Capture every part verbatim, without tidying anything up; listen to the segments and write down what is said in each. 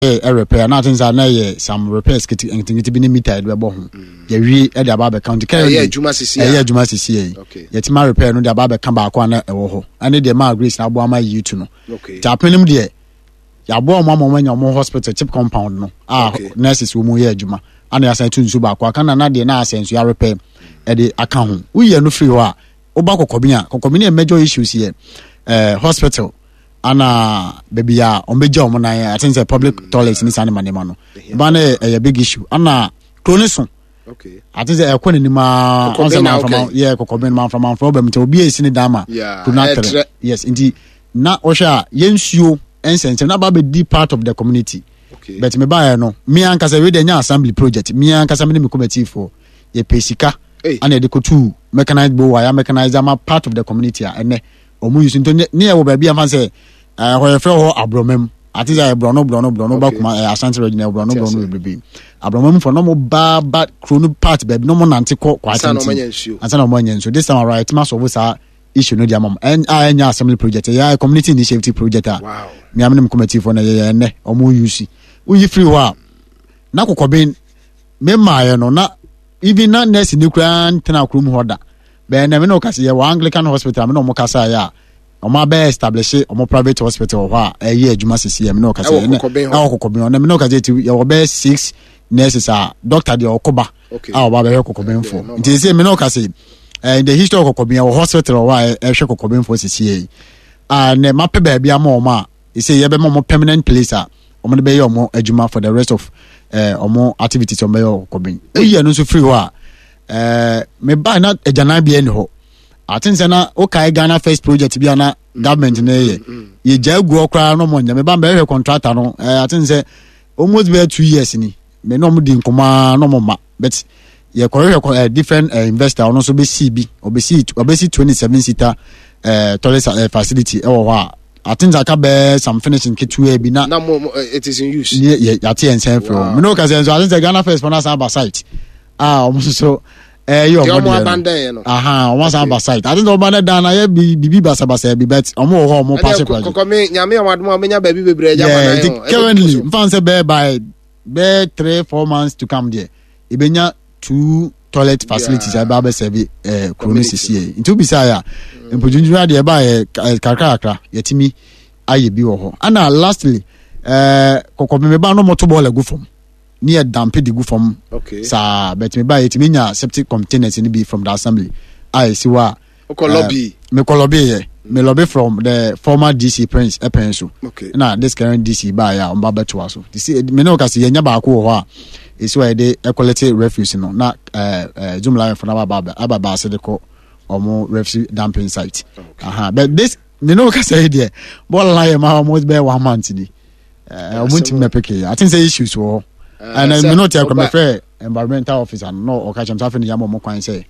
Ɛ repair na ati sɛ na yɛ some repairs kete nketenkete bi ne meter yɛde bɛbɔ ho, yɛwie ɛde aba abɛka. Nti currently ɛyɛ adwuma sisi a, ɛyɛ adwuma sisi yɛ. Okay. Yɛtumi repair no de aba abɛka baako a na ɛwɔ hɔ, ɛne deɛ maa Grace na aboa ama yi tu no. Okay nti apenem deɛ, yɛaboa ɔmo ama ɔmo anya ɔmo hospital chip compound no a Okay. nurses wɔ mu yɛ adwuma, ana yɛasan tu nsu baako aka na na deɛ na asɛ nso yɛarepair ɛde aka ho. Woyɛ no firi hɔ a, woba Kɔkɔbi a, Kɔkɔbi no yɛ major issues yɛ ɛɛ hospital ana baabi a ɔmo bɛgya ɔmo nan, ati sɛ public toilet ne saa ne ma nneɛma no ba no yɛ, ɛyɛ big issue. Ana kuro ne so okay ati sɛ ɛkɔ n'anim aa. Kɔkɔbɛn ɔnsɛ na manframa okay. yɛ Kɔkɔbɛn manframanfra ɔbɛn mu nti obi a esi ne dan ma Yeah, kuro no ɛtrɛ. atrɛ. Yes, nti na ɔhwɛ a, yɛn nsuo nsɛnsɛm na ba bɛdi part of the community. Okay but me baayɛ no, me ankasa wei deɛ nyɛ assembly project, me ankasa me ne me committee foɔ yɛpɛ sika Hey. ana yɛde kɔtu mechanized borehole a yɛ mechanized ama part of the community a ɛnɛ ɔmo use. Nti ne ne yɛ wɔ baabi a fa sɛ ɛɛ hɔ yɛfrɛ hɔ Aborɔmam, ate sɛ borɔno borɔno borɔno ba Okay. kuma ɛɛ Asante Region, ɛyɛ borɔno Te borɔno ase. bebrebe. Aborɔmam fɔ na ɔmo ba ba kuro no part baabi na ɔmo nante kɔ kɔ ansa na ɔmo atenten anya nsuo. Ansa na ɔmo anya nsuo. This time around yɛtumi asɔfo saa issue no de ama mo ɛn a ɛnyɛ assembly project, ɛyɛ community initiative project a wow miam ne m committee foɔ na yɛyɛ. Ɛnɛ ɔmo use. Woyi firi hɔ a, na Kɔkɔben me mmaayɛ no na even na nurse ni koraa ntena kurom hɔ da bɛn na me na ɔkasa. Yɛ wɔ Anglican Hospital, me na ɔmo kasa yɛ a ɔmo abɛyɛ establish ɔmo private hospital wɔ hɔ a ɛyɛ adwuma sisi yɛ. Me na ɔkasa Ɛwɔ yɛ Kɔkɔben hɔ. Ɛwɔ Kɔkɔben hɔ na me na ɔkasa ti yɛwɔ bɛyɛ six nurses a doctor deɛ ɔkɔba okay a ɔba bɛhwɛ Kɔkɔbenfoɔ. Yeah, normal. Nti sɛ me na ɔkasa yi, eh, in the history of Kɔkɔben, yɛwɔ hospital wɔ hɔ a ɛhwɛ Kɔkɔbenfoɔ sisi yɛ yi a nɛ mapɛ baabi ama ɔmo a ɛsɛ yɛbɛma ɔmo permanent place a ɔmo de bɛyɛ ɔmo adwuma for the rest of eh, ɔmo activities ɔmo bɛyɛ wɔ Kɔkɔben. Oyi ɛno nso firi hɔ a, eh, meba na agyananbea ni hɔ. Ate sɛ na wokae Ghana First project bi a na government no yɛ, yɛgya agu hɔ koraa na ɔmo nyɛ. Meba mbɛhwɛ contractor no, eh, ate sɛ almost bɛyɛ two years ni me na ɔmo di nkɔmɔ a na ɔmo ma, but yɛkɔhwehwɛ kɔ eh, different eh, investor, ɔno nso bɛsi bi, ɔbɛsi ɔbɛsi twenty seven seater eh, toilet eh, facility ɛwɔ hɔ a ate sɛ aka bɛɛ some finishing ketewa bi na na mo mo eh, it is in use. Ne yɛ yɛate yɛn nsɛn firi hɔ. Wow. Mene woka sɛ nso ate sɛ Ghana First fɔ no asan aba site a ɔmo nso so ɛyɛ deɛ ɔmo ɔmo deɛ no abandon yɛ no. Aha, ɔmo asan Okay. aba site. Ate sɛ ɔba ne dan na yɛ bi bibi basabasa bi, but ɔmo wɔ hɔ a ɔmo paase ɛnɛ project. kɔkɔ me Nyame ɔmo adom a ɔmenya baabi bebree agya ma Yeah, nan nti o. Ɛbɛkɔ currently so. nfa sɛ bɛɛ by bɛɛ three four months to come deɛ, ebenya two toilet facilities a Yeah. ɛbɛ abɛsɛbi ɛɛ kuro no Community. sisi yɛ. Nti obisa yɛ a, mpɔtuntun adeɛ ɛba yɛ kakra kakra, yɛtumi ayɛ bi wɔ hɔ. Ana lastly, ɛɛ Kɔkɔbɛn ba no, mo to bɔɔl agu fam ne yɛ dump de gu fam okay saa, but me ba yɛtumi nya septic containers no bi from the assembly a esi hɔ a wokɔ lobby. Mekɔ lobby yɛ, me lobby from the former D C Prince ɛpɛn so okay na this current D C baayɛ a ɔmba bɛtoa so. Te sɛ me ne wo ka sɛ yɛnya baako wɔ hɔ a ɛsi hɔ a yɛde ɛcollect refuse no na ɛɛ ɛɛ Zoomlion fo no aba aba aba baase de kɔ ɔmo refuse dumping site. Okay. Aha, but this me ne wo ka sɛ yi deɛ, bɔɔl na yɛ ma almost bɛyɛ one month ni ɛɛ ɔmo ntumi mɛpeke yɛ. I think sɛ issues wɔ hɔ ɛna me ne wo te akɔ mɛfrɛ environmental officer no na ɔka kyerɛ me sɛ afei ne yɛama ɔmo kwan sɛ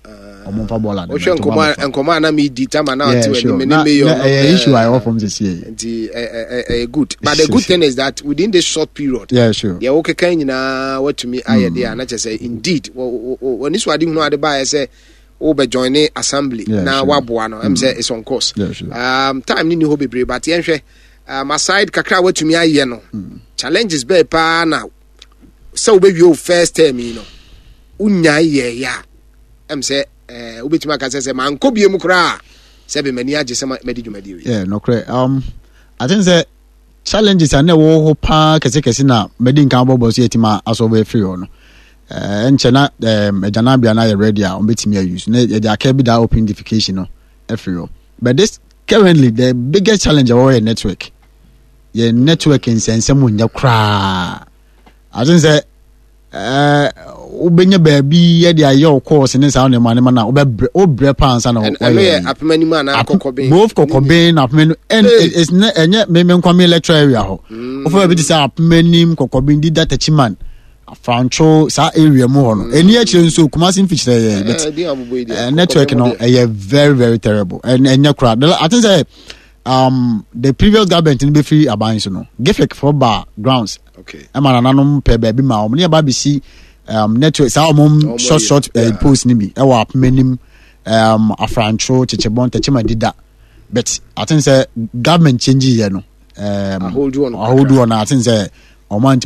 ɔmo mfa bɔɔl ade. Wohwɛ nkɔmɔ a nkɔmɔ a na medi tama na ɔte w'anim me ne mayor no, ɛyɛ eh, issue a ɛwɔ fam sisi yɛ. Nti ɛ- ɛ- ɛ- ɛyɛ good, but the good thing is that within this short period yeah sure deɛ wokeka nyinaa watumi ayɛ deɛ a na kyerɛ sɛ indeed wɔ- wɔ- wɔ- w'ani so ade hunu ade baeɛ sɛ wobɛjoin ne assembly Yeah, na sure. woaboa no ɛm sɛ it's on course. Yeah, sure. um, time ne ni hɔ bebree, but yɛnhwɛ um, aside kakra a watumi ayɛ no, challenges bɛɛ paa na sɛ wobɛwie wo first term yi no wonyae yɛɛyɛ a ɛm sɛ eh, wobɛtumi aka sɛ sɛ mankɔ bie mu koraa a sɛ be m'ani agye sɛ ma- madi dwumadie wei. Yeah, nokorɛ. um, I think sɛ challenges a na ɛwɔ hɔ paa kɛsekɛse na mɛdi nkan bɔbɔ so yɛtumi asɔbɔ afiri hɔ no, ɛɛ nkyɛ na ɛɛm agyananbea no ayɛ ready a wɔbɛtumi ayi so na yɛde aka bi da open defecation no afiri hɔ. But this currently, the biggest challenge ɛwɔ hɔ yɛ network. Yɛ network nsɛnsɛm nyɛ koraa. I think sɛ ɛɛ wobɛnya baabi yɛde ayɛ wo course ne saa nneɛma nneɛma na wobɛbrɛ, wobrɛ paa ansa na Ɛn- wɔyɛ ɛno yɛ yi. Apemanim anaa Kɔkɔben? Both Kɔkɔben na Apemanim ɛn Hey. it's ne ɛnyɛ me me nkwa me electoral area hɔ. Wofa baabi te sɛ Apemanim, Kɔkɔben, Dida, Techiman, Afrantwo, saa area mu hɔ no, ɛni akyire nso Kumasi mfikyerɛ yɛ, but Eh, din abobɔ yi deɛ, eh, network Kɔkɔben no hɔ deɛ. ɛyɛ very very terrible. ɛn ɛnyɛ koraa. The- I think sɛ um, the previous government no bɛfiri aban so no, GIFEC fo ba grounds okay ɛma nananom pɛ baabi ma wɔn ne yɛba bɛsi um, network saa ɔmo Ɔmo short yɛ, short uh, yeah. post ni bi ɛwɔ Apemanim, um, Afrantwo, Kyekyebɔn, Tɛkyima, Dida, but I think sɛ government change yɛ no um, Ahodoɔ no ahodoɔ no, I think sɛ Ɔmo antumi.